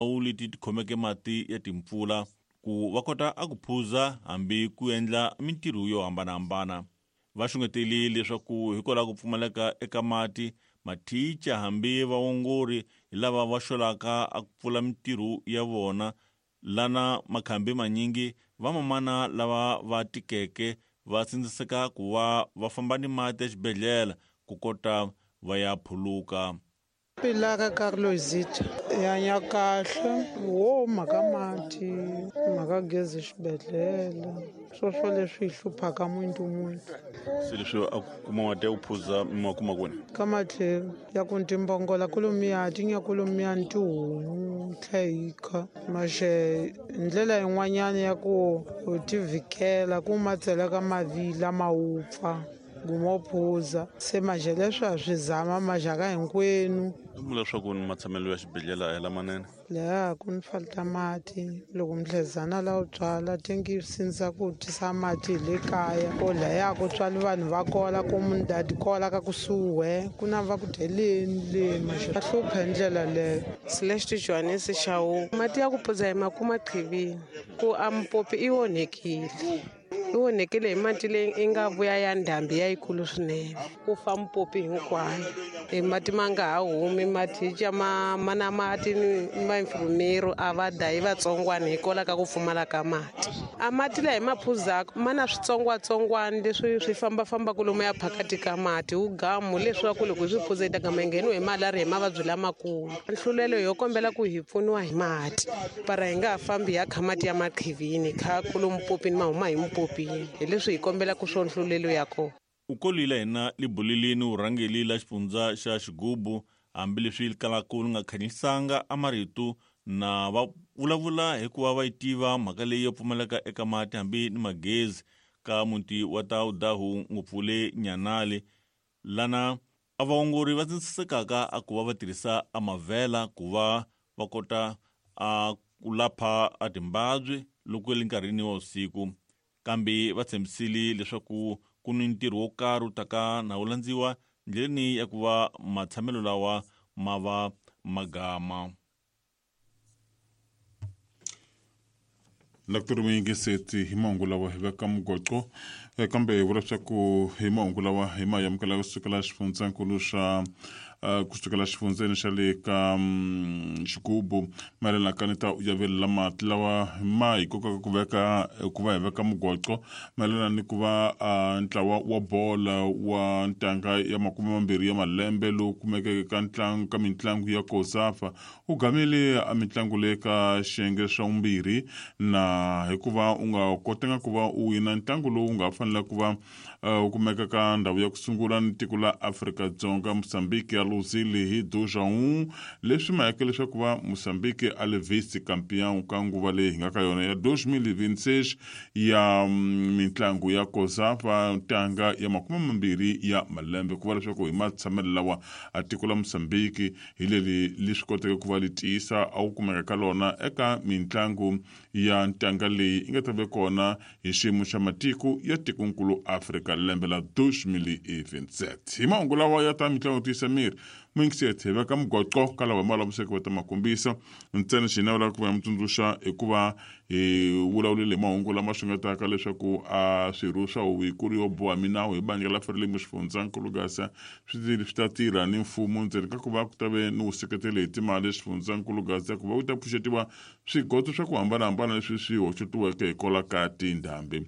Tindhawu leti ti khomeke mati ya timpfula ku va kota a ku phuza hambi ku endla mintirho yo hambanahambana. Va xungetele leswaku hikwalaho ko pfumaleka eka mati, mathicha hambi vaongori hi lava va xolaka a ku pfula mintirho ya vona lana makhambi manyingi vamamana lava va tikeke va sindziseka ku va va famba ni mati exibedhlele ku kota va ya phuluka. Pilaka Carlosita hi hanya kahle wo mhaka mati mhaka gezi xibedhlele swoswo leswi hi hluphaka muntu muntu. Se leswi a ku kuma mati ya ku phuza mi ma kuma kwini? Ka matlhelo ya ku timbongola kolomiya ti nya kolomiya ni tihomu tlhe hi kha maxe hi ndlela yin'wanyana ya ku u tivhikela ku ma tseleka mavila ma wupfa guma u phuza se maje leswi ha swi zama maxaka hinkwenu. I vula leswaku ni matshamelo ya xibedhlele a hi lamanene. Laha ku ni falta mati loko mdlezana la u tswala tengi sindza ku tisa mati hi le kaya ko laya ku tswali vanhu va kola ku mundadi kola ka kusuhi ku na va ku dyeleni le maxe va hlupha hi ndlela leyo. Celeste Johannes Shawu mati ya ku phuza hi ma kuma qhivini ku a mpopi i onhekile. Yi onhekile hi mati leyi i nga vuya ya ndhambi ya yikulu swinene ku fa mpopi hinkwayo e mati ma nga ha humi mathicha ma ma na mati ni vainfirmero a va dayi vatsongwana hikwalaho ka ku pfumala ka mati a mati laha hi ma phuzaka ma na switsongwatsongwana leswi swi fambafambaka lomu ya phakati ka mati wu gamu leswaku loko hi swi phuza hi ta gama hi ngheniwe hi malariya hi mavabyi lamakulu nhlulelo yo kombela ku hi pfuniwa hi mati para hi nga ha fambi hi ya kha mati ya maqhivini kha kulo mupopini ma huma hi mupopini hi leswi hi kombelaka swo nhlulelo ya kona. U kolile hina libulilini vurhangeli la xifundza xa Xigubu hambileswi li kalaku li nga khanyisanga a marito na va vulavula hikuva va yi tiva mhaka leyi yo pfumaleka eka mati hambi ni magezi ka muti wa Taudahu ngopfu le Nyanali lana A vaongori va tsindzisekaka a ku va va tirhisa a mavhela ku va va kota a ku lapha a timbabyi loko le nkarhini wa vusiku kambe va tshembisile leswaku ku ni ntirho wo karhi wu taka na wu landziwa ndleleni ya ku va matshamelo lawa ma va magama. Dr Muyingiseti hi mahungu lawa hi veka mugoqo eh, kambe hi vula leswaku hi mahungu lawa hi ma amukela kusukela xifundzankulu xa eh, kusukela xifundzeni xa le ka mm, xigubu mayelana ka ni ta yavelela mati lawa ma hi kokaka ku veka ku va hi veka mugoqo mayelana ni ku va ah, ntlawa wa bola wa ntanga ya makume mambirhi ya malembe lowu kumekeke ka ntlangu ka mitlangu ya kosafa U gamile a mitlangu le ka xiyenge xa vumbirhi na hikuva u nga kotanga ku va u wina ntlangu lowu nga fanela ku va u kumeka ka ndhawu ya ku sungula ni tiko la Afrika-Dzonga Mozambique ya luzile hi 2-1 leswi mayeke leswaku va Mozambique a le vice campeão ka nguva leyi hi nga ka yona ya 2026 ya mitlangu ya COSAFA ntanga ya 20 ya malembe ku va leswaku hi matshamelo lawa a tiko la Mozambique hi leri li swi koteke ku va li tiyisa a ku kumeka ka lona eka mintlangu ya ntanga leyi yi nga ta ve kona hi xiyimo xa matiko ya tikonkulu Afrika lembe la 2027. Hi mahungu lawa ya ta mitlangu yo tiyisa miri, muyingiseti hi veka mugoqo ka lawa hi ma laviseke va ta ma kombisa ntsena xi navelaka ku va mi tsundzuxa i ku va hi vulavulile hi mahungu lama xungetaka leswaku a swirho swa huvo yikulu yo boha minawu hi bandla la Frelimo xifundzankulu Gasa swi swi ta tirha ni mfumo ndzeni ka ku va ku ta ve ni vuseketeli hi timali xifundzankulu Gaza ku va ku ta pfuxetiwa swigoto swa ku hambanahambana leswi swi hoxetiweke hi kola ka tindhambi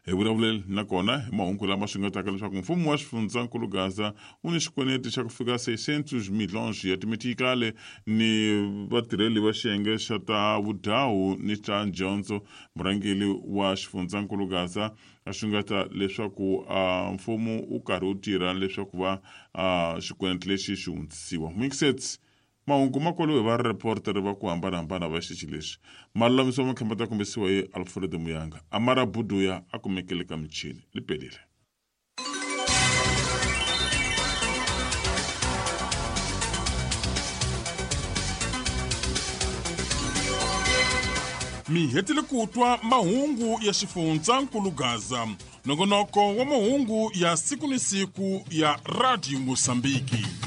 hi vulavuleli nakona hi mahungu lama xungetaka leswaku mfumo wa xifundzankulu Gaza wu ni xikweleti xa ku fika 600 milhons ya timitikale ni vatirheli va xiyenge xa ta vudyahu ni xa dyondzo murhangeri wa xifundzankulu Gaza a xungeta leswaku mfumo wu karhi wu tirha leswaku va xikweleti lexi xi hundzisiwa mixets mahungu ma koliwe hi vareportere va ku hambanahambana va xixi lexi malulamiso makhamba ta kombisiwa hi Alfred Muyanga Amara Buduya a kumekele ka michini li pelile. Mi hetile ku twa mahungu ya xifundzankulu Gaza, nongonoko wa mahungu ya siku ni siku ya Radio Mosambiki.